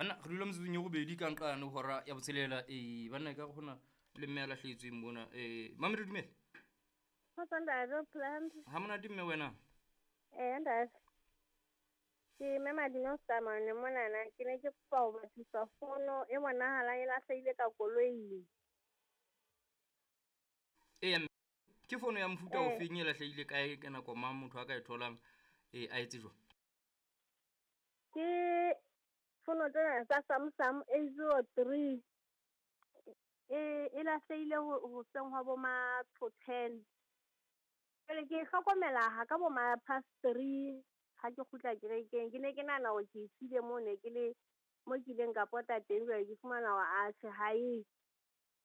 Banna re dula metsotsong e robedi ka nqane hora ya botshelela. Ee, banna e ka re hona le mme a lahlehetsweng mona. Ee, Mamedi dumela. Kgotso ntate, o phela hantle? Ha monate mme wena? Ee ntate. Ke mme Madino Samane monana, ke ne ke kopa ho batlisa fono e bonahalang e lahlehile ka koloing. Eya mme, ke fono ya mofuta o feng e lahlehile kae ka nako mang motho a ka e tholang ee a etse jwang? Ke fono tsena tsa Samsung A 03. E e lahlehile hoseng hwa bo ma to 10. Jwale ke e hlokomela ha ka bo ma past 3 ha ke kgutla kerekeng. Ke ne ke nahana hore ke e siile moo ne ke le mo ke ileng ka pota teng, jwale ke fumana hore atjhe ha e.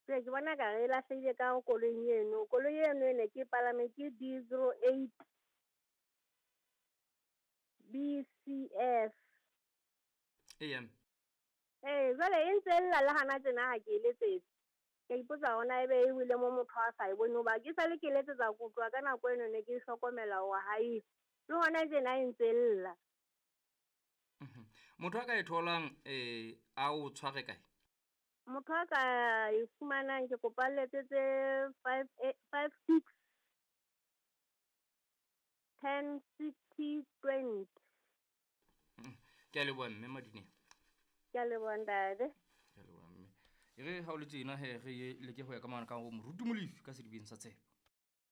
Jwale ke bona ekare e lahlehile ka koloing eno. Koloi eno e ne ke e palame ke D 08 BCF. Eya. Ee, jwale e ntse e lla le hana tjena ha ke e letsetsa. Ke a ipotsa hore na ebe e wele mo motho a sa e bone hoba ke sale ke letsetsa ko tloha ka nako eno ne ke hlokomela hore ha eyo. Le hona tjena e ntse e lla. Motho a ka e tholang a o tshware kae? Motho a ka e fumanang ke kopa a letsetse 5 5 6 10 60 20. Ke a leboha mme Madineng. Ke a leboha ntate. Ke a leboha mme. E re ha o le tjena he re leke ho ya ka mane ka ho Moruti Molefi ka sedibeng sa tshepo.